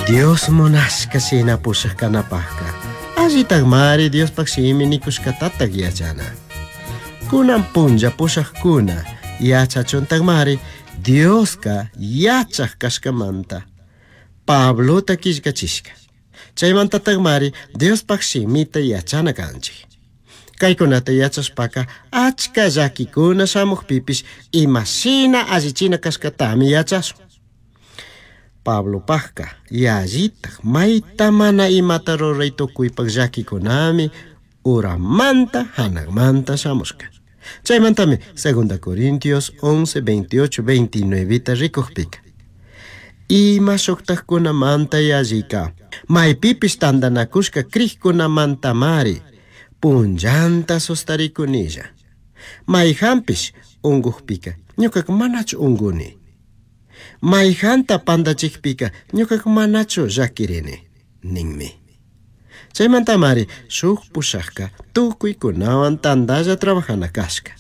Dios munashka shina pushaj kanapajka allitakmari Diospaj shimi nikushkatatak yachana. Kunan punlla pushajkuna yachachuntakmari Dioska yachaj kashkamanta Pablota killkachishka. Chaymantatakmari Diospaj shimita yachana kanchik. Kaykunata yachashpaka achka llakikuna shamukpipish imashina allichina kashkatami yachashun. Pablopajka yallitaj mayta mana imata ruray tukuypak llakikunami uramanta hanakmanta shamushka. Chaymantami 2 Corintios 11, 28, 29 rikukpika. Ima shuktajkunamanta yallika maypipish tantanakushka crijkunamantamari punllanta sustarikunilla. Mayjanpish unkukpika ñukaka manachu unkuni. Mayjanta pantachikpika ñukaka manachu llakirini ninmi. Chaymantamari shuk pushakka tukuykunawan tantalla trabajana kashka.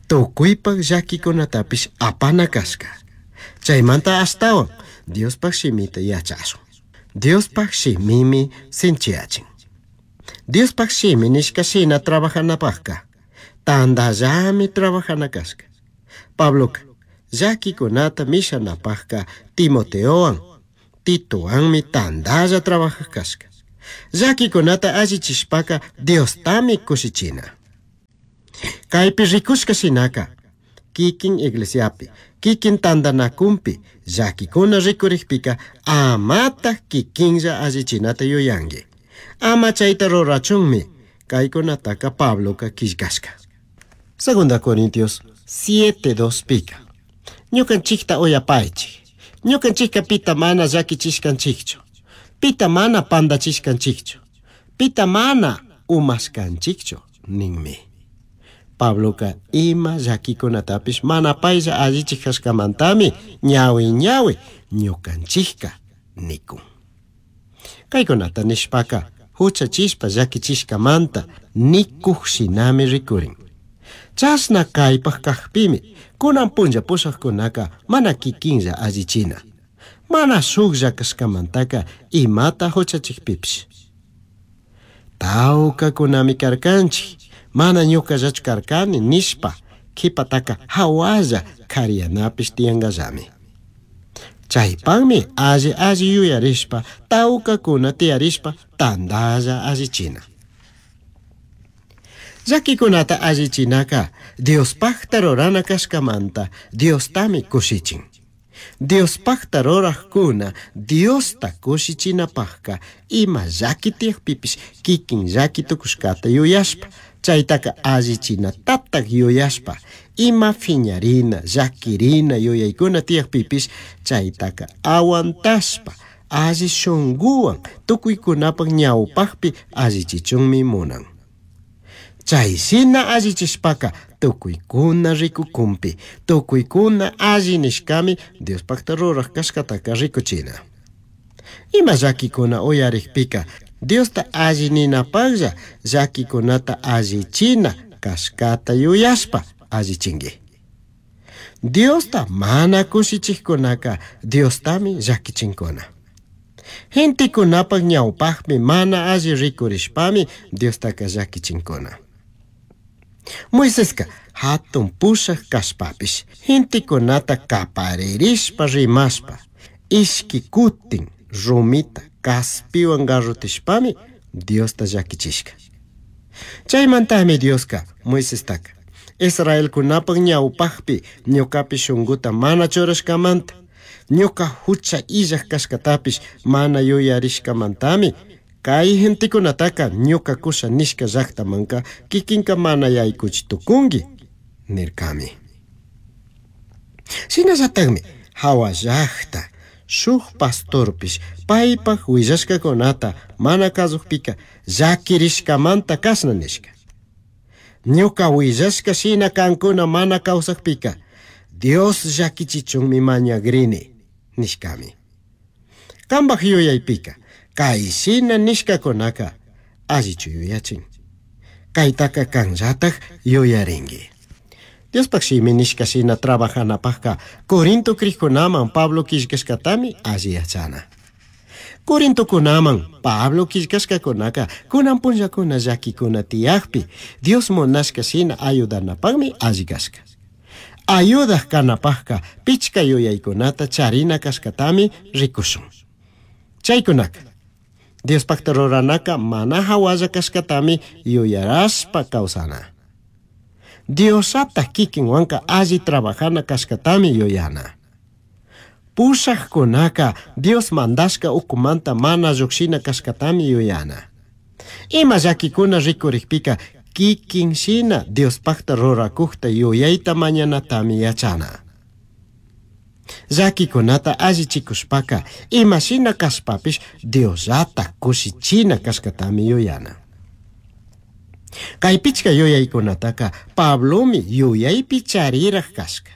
Tukuypak llakikunatapish apana kashka. Chaymanta ashtawan Diospaj shimita yachashun. Diospaj shimimi sinchiyachin. Diospaj shimi nishka shina trabajanapajka tantallami trabajana kashka. Pabloka llakikunata mishanapajka Timoteowan Titowanmi tantalla trabajaj kashka. Llakikunata allichishpaka Diostami kushichina. Kaypi rikushka shinaka kikin iglesiapi, kikin tantanakunpi llakikuna rikurikpika amataj kikinlla allichinata yuyanki. Ama chayta rurachunmi kaykunataka Pabloka killkashka. Segunda Corintios 7:2 pika. Ñukanchikta uyapaychik. Ñukanchikka pita mana llakichishkanchikchu. Pita mana pantachishkanchikchu. Pita mana umashkanchikchu ninmi. Pabloka ima llakikunatapish mana paylla allichik kashkamantami ñawi ñawi ñukanchikka nikun. Kaykunata nishpaka huchachishpa llakichishkamanta nikuj shinami rikurin. Chashna kaypaj kajpimi kunan punlla pushajkunaka mana kikinlla allichina. Mana shuklla kashkamantaka imata huchachikpipish. Tawkakunami karkanchik, mana ñukallachu karkani nishpa kipataka hawalla kariyanapish tiyankallami. Chaypakmi alli alli yuyarishpa tawkakuna tiyarishpa tantalla allichina. Llakikunata allichinaka Diospajta rurana kashkamanta Diostami kushichin. Diospajta rurajkuna Diosta kushichinapajka ima llaki tiyakpipish kikin llaki tukushkata yuyashpa chaytaka allichinatatak yuyashpa ima phiñarina llakirina yuyaykuna tiyakpipish chaytaka aguantashpa alli shunkuwan tukuykunapak ñawpakpi allichichunmi munan. Chay shina allichishpaka tukuykuna rikukunpi tukuykuna alli nishkami Diospakta ruraj kashkataka rikuchina. Ima llakikuna uyarikpika Diosta alli ninapaklla llakikunata allichina kashkata yuyashpa allichinki. Diosta mana kushichikkunaka Diostami llakichinkuna. Gentekunapak ñawpakpi mana alli rikurishpami Diostaka llakichinkuna. Moiseska hatun pushaj kashpapish gentekunata kaparirishpa rimashpa ishki kutin rumita kaspiwan garrotishpami Diosta llakichishka. Chaymantami Dioska Moisestaka Israelkunapak ñawpakpi ñukapi shunkuta mana churashkamanta ñuka hucha illaj kashkatapish mana yuyarishkamantami kay gentekunataka ñuka kusha nishka llaktamanka kikinka mana yaykuchi tukunki nirkami. Shinallatakmi hawa llakta shuk pastorpish paypak willashkakunata mana kasukpika llakirishkamanta kashna nishka. Ñuka willashka shina kankuna mana kawsakpika Dios llakichichunmi mañagrini nishkami. Kanpak yuyaypika kay shina nishkakunaka allichu yuyachin. Kaytaka kanllatak yuyarinki. Diospak shimi nishka shina trabajanapajka Corinto crijkunaman Pablo killkashkatami alli yachana. Corintokunaman Pablo quillcashcacunaca kunan punllakuna llaquicuna tiyajpi Dios munashka shina ayudanapaqmi alli kashka. Ayudaj kanapajka pichka yuyaykunata charina kashkatami rikushun. Chaykunaka Diospakta ruranaka mana hawalla kashkatami yuyarashpa kawsana. Diosata kikinwanka alli trabajana kashkatami yuyana. Pushajkunaka Dios mandashka ukumanta mana llukshina kashkatami yuyana. Ima llakikuna rikurikpika kikin shina Diospakta rurakukta yuyayta mañanatami yachana. Llakikunata allichikushpaka ima shina kashpapish Diosllata kushichina kashkatami yuyana. Kay pichka yuyaykunataka Pablomi yuyaypi chariraj kashka.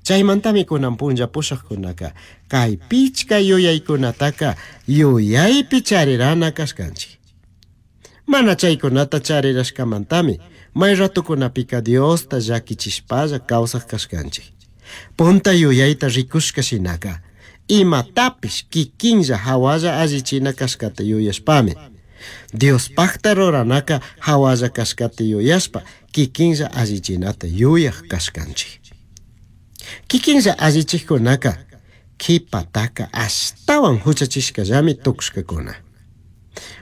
Chaymantami kunan punlla pushajkunaka kay pichka yuyaykunataka yuyaypi charirana kashkanchik. Mana chaykunata charirashkamantami may ratukunapika Diosta llakichishpalla kawsaj kashkanchik. Punta yuyayta rikushka shinaka imatapish kikinlla hawalla allichina kashkata yuyashpami Diospakta ruranaka hawalla kashkata yuyashpa kikinlla allichinata yuyaj kashkanchik. Kikinlla allichikkunaka kipataka ashtawan huchachishkallami tukushkakuna.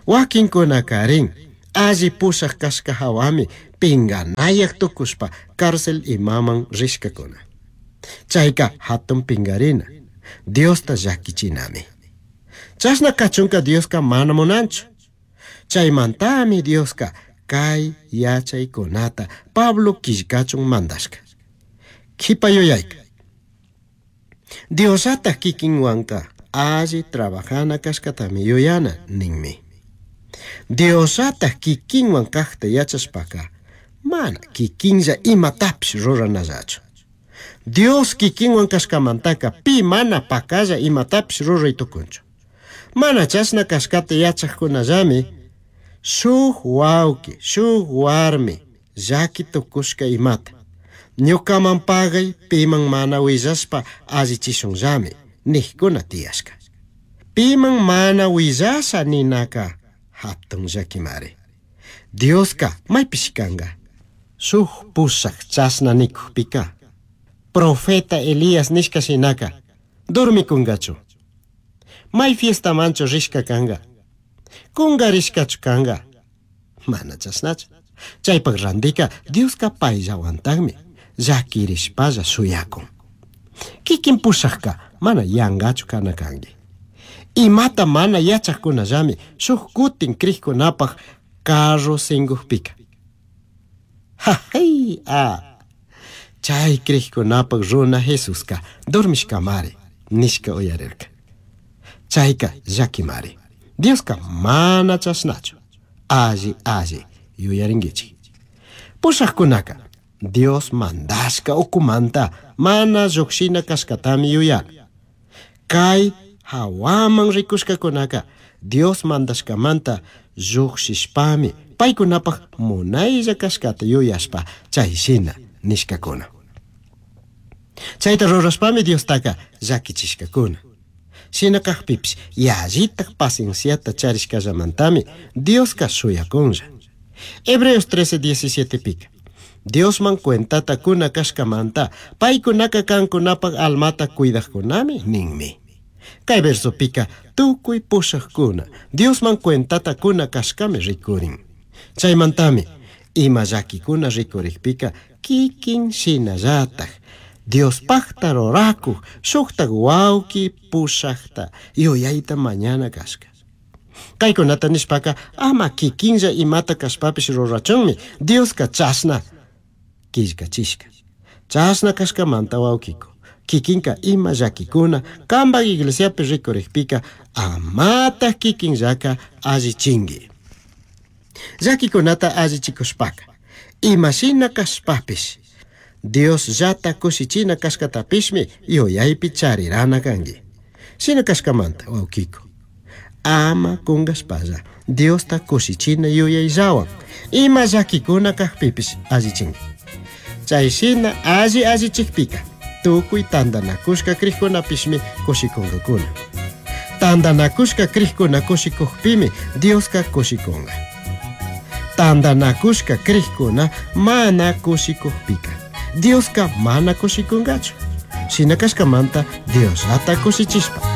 Wakinkunakarin alli pushaj kashka hawami pinganayaj tukushpa cárcel imaman rishkakuna. Chayka hatun pingarina, Diosta llakichinami. Chashna kachunka Dioska mana munanchu. Chaymantami Dioska kay yachaykunata Pablo killkachun mandashka. Kipa yuyayka. Diosata kikinwanka alli trabajana kashkatami yuyana ninmi. Diosata kikinwan kajta yachashpaka mana kikinlla imatapish ruranallachu. Dios kikinwan kashkamantaka pi mana pakalla imatapish ruray tukunchu. Mana chashna kashkata yachajkunallami shuk wawki, shuk warmi llaki tukushka imata. Ñukaman pagay piman mana willashpa allichishunllami nijkuna tiyashka. Piman mana willasha ninaka hatun llakimari. Dioska maypish kanka. Shuk pushak chashna nikukpika profeta Elías nishka shinaka dormikungachu. May fiestamanchu rishka kanga. Kungarishkachu kanga. Mana chashnachu. Chaypak randika Dioska payllawantaqmi llakirishpalla shuyakun. Kikin pushakka mana yangachu kana kanki. Imata mana yachajkunallami shuk kutin krikkunapaj carro sinkukpika. Jajay a chay krikkunapaj runa Jesuska dormishkamari nishka uyarirka. Chayka llakimari. Dioska mana chashnachu. Alli alli yuyarinkichik. Pushajkunaka Dios mandashka ukumanta mana llukshina kashkatami yuyana. Kay hawaman rikushkakunaka Dios mandashkamanta llukshishpami paykunapaj munaylla kashkata yuyashpa chay shina nishkakuna. Chayta rurashpami Diostaka llakichishkakuna. Shina kajpipish yallitaj pacienciata charishkallamantami Dioska shuyakunlla. Hebreos 13:17 pika. Diosman cuentata kuna kashkamanta paykunaka kankunapaj almata cuidajkunami ninmi. Kay versopika tukuy pushajkuna Diosman cuentata kuna kashkami rikurin. Chaymantami ima llakikuna rikurikpika kikin shinallataj Diospakta rurakuj shuktak wawki pushakta yuyayta mañana kashka. Kaykunata nishpaka ama kikinlla imata kashpapish rurachunmi Dioska chashna killkachishka. Chashna kashkamanta wawkiko. Kikinka ima llakikuna kanpak iglesiapi rikurikpika amataj kikinllaka allichinki. Llakikunata allichikushpaka imashina kashpapish Diosllata kushichina kashkatapishmi yuyaypi charirana kanki. Shina kashkamanta wawkiko. Ama kunkashpalla Diosta kushichina yuyayllawan ima llakikuna kajpipish allichinki. Chay shina alli allichikpika tukuy tantanakushka krikkunapishmi kushikunkakuna. Tandanacushca crijcuna cushicujpimi Diosca cushicunga. Tandanacushca crijcuna mana cushicujpica Diosca mana cushicungachu. Shina cashcamanta Diosllata cushichishpa.